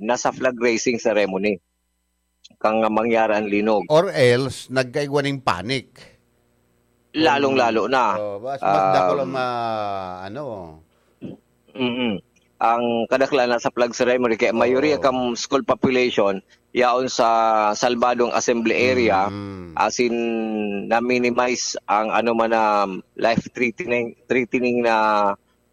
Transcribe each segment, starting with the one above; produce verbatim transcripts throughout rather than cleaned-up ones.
nasa flag raising ceremony kang mangyari ang linog. Or else, nagkaigwa ning panic. Lalong-lalo na. Oh, mas, mas dakul ang Um, ma-, ano. Mm. Ang kadaklan na sa flag ceremony, kaya mayoriya Oo. kang school population, yaon sa Salvadong Assembly Area, Mm. as in, na-minimize ang ano man na life-threatening, threatening na,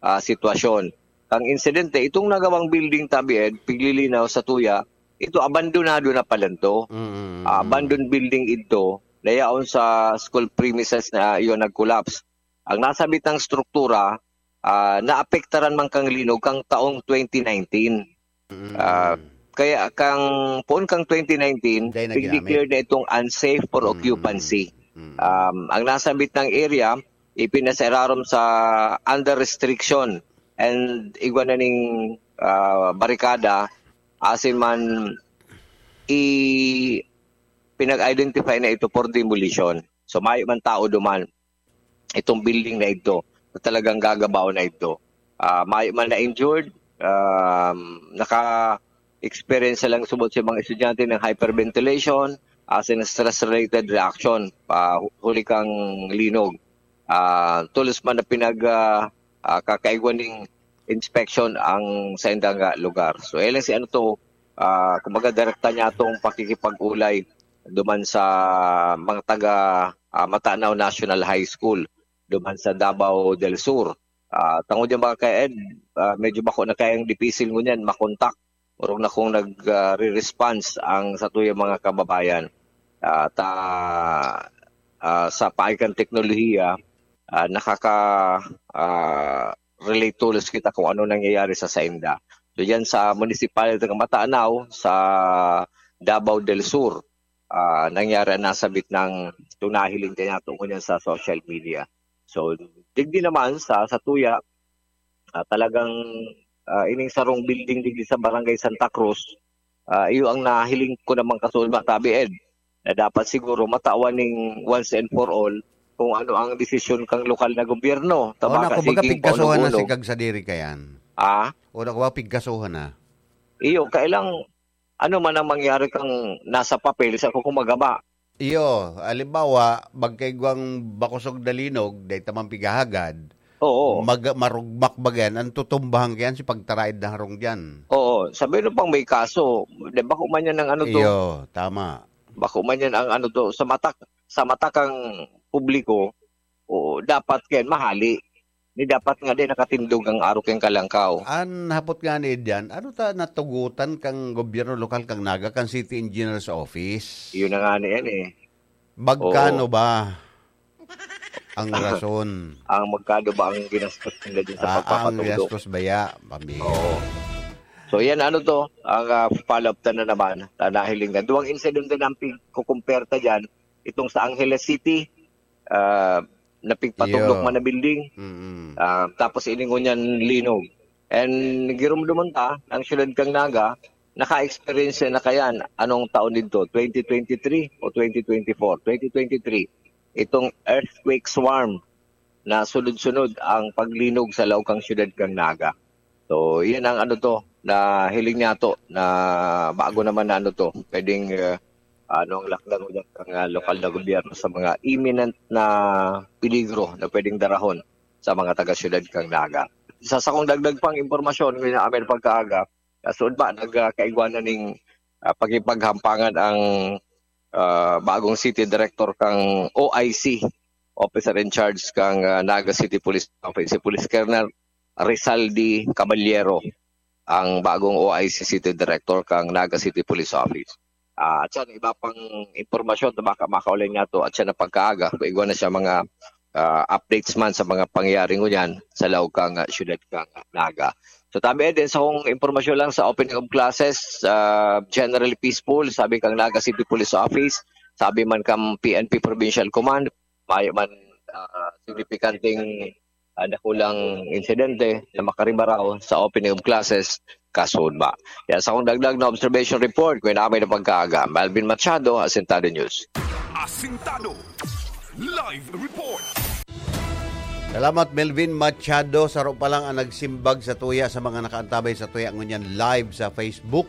ah, sitwasyon. Ang insidente, itong nagawang building tabi, Ed, piglilinaw sa tuya, ito abandonado na pala to. Mm. Ah, abandoned building ito, na yaon sa school premises na iyon nag-collapse. Ang nasabitang struktura, ah, naapektaran man kang linog kang taong twenty nineteen. Mm. Ah, kaya kang, poon kang twenty nineteen, Dai na ginamit. nag-declare na itong unsafe for Mm. occupancy. Mm. Um, ang nasabit ng area, ipinasirarom sa under restriction and igwa na ning, ah, barikada, asin man i-, pinag-identify na ito for demolition. So, mayo man tao duman itong building na ito na talagang gagabaon na ito. Ah, mayo man na-injured, um, naka-experience lang subot sa mga estudyante ng hyperventilation, as in stress-related reaction, ah, hu-, huli kang linog. Ah, tolos man na pinag, ah, ah, kakaigwa ning inspection ang saindang, ah, lugar. So, ayan lang si ano to, ah, kumbaga direkta niya tong pakikipag-ulay duman sa mga taga, ah, Matanao National High School, duman sa Davao del Sur. Ah, tangod yung mga ka-, Ed, ah, medyo bako na kayang dipisil ngunyan makontak. Orog na kung nag, ah, re-response ang satuyang mga kababayan. Ah, ta, ah, sa paagi kan teknolohiya, ah, nakaka, ah, relate tolos kita kung ano nangyayari sa sainda. So, diyan sa municipality ng Matanao, sa Davao del Sur, ah, nangyari ang nasabit ng itong nahiling kaya tungkol yan sa social media. So, digdi naman sa, sa tuya, ah, talagang, ah, ining sarong building digdi sa Barangay Santa Cruz, ah, iyo ang nahiling ko namang kasulba, tabi, Ed, na dapat siguro matawan ning once and for all kung ano ang desisyon kang lokal na gobyerno. O, Tabaka, naku, baga sige, pigkasuhan na si paunog-unog. Kag sadiri kayan. Ah? O, naku, ba pigkasuhan na? Iyo, kailang ano man ang mangyari kang nasa papel, sa kung magaba. Iyo, halimbawa, magkaigwang bakosog na linog, dahil tamang pighahagad, Oo. mag-, marugmak ba yan? Ang tutumbahan kayan si pagtaraid na harong dyan. Oo, sabi nun pang may kaso, di ba, kung man yan ang ano to? Iyo, tama. Bako man yan ang ano to, sa mata, sa mata kang publiko, oo, dapat kayan mahali. Ni dapat nga din nakatindog ang arog kan kalangkaw. An hapot nga ni diyan, ano ta natugutan kang gobyerno lokal kang Naga, kan City Engineer's Office? Yun na nga ni yan eh. Magkano Oo. ba ang rason? Ang magkano ba ang ginastos nila dyan sa Ah, ang pagpapatudo? Ginastos baya, pamilya. Oo. So, yan, ano to, ang, ah, follow-up ta na naman, ah, nahiling na. Duwang insidente na ang pigkukumperta dyan, itong sa Angeles City, ah, na pigpatuklok Iyo. man na building, Mm. ah, tapos iningon niyan linog. And girumduman ta, ang siyudad kang Naga, naka-experience na kayan. Anong taon dito? Twenty twenty-three o twenty twenty-four? Twenty twenty-three. Itong earthquake swarm na sunod-sunod ang paglinog sa laog kang siyudad kang Naga. So, yan ang ano to, na hiling niya to, na bago naman na ano to, pwedeng, ah, ano ang lakdang udyang kang, ah, lokal na gobyerno sa mga imminent na peligro na pwedeng darahon sa mga taga-siyudad kang Naga. Sa sakong dagdag pang impormasyon, ngayon na amin pagkaaga, kasunod ba, nagkaigwa na ning, ah, pakipaghampangan ang, ah, bagong city director kang O I C, officer in charge kang, ah, Naga City Police Office, si Police Colonel Rizaldi Caballero, ang bagong O I C City Director kang Naga City Police Office. Ah, at yan, iba pang impormasyon na baka makaulay niya to at siya na pagkaaga. Kung igwa na siya mga, ah, updates man sa mga pangyayari ngunyan sa laog kang, ah, siyudad kang, ah, Naga. So, tabi din sa kong impormasyon lang sa opening of classes, ah, generally peaceful, sabi kang Naga City Police Office, sabi man kang P N P Provincial Command, mayo man, ah, signifikanteng, ah, dakulang insidente na makaribaraw sa opening of classes, kasunod ba. Yan sa akong dagdag na observation report, kung namin na pagkaaga. Melvin Machado, Asintado News. Asintado Live Report. Salamat, Melvin Machado. Saro pa lang ang nagsimbag sa tuya sa mga nakaantabay sa tuya ngunyan live sa Facebook.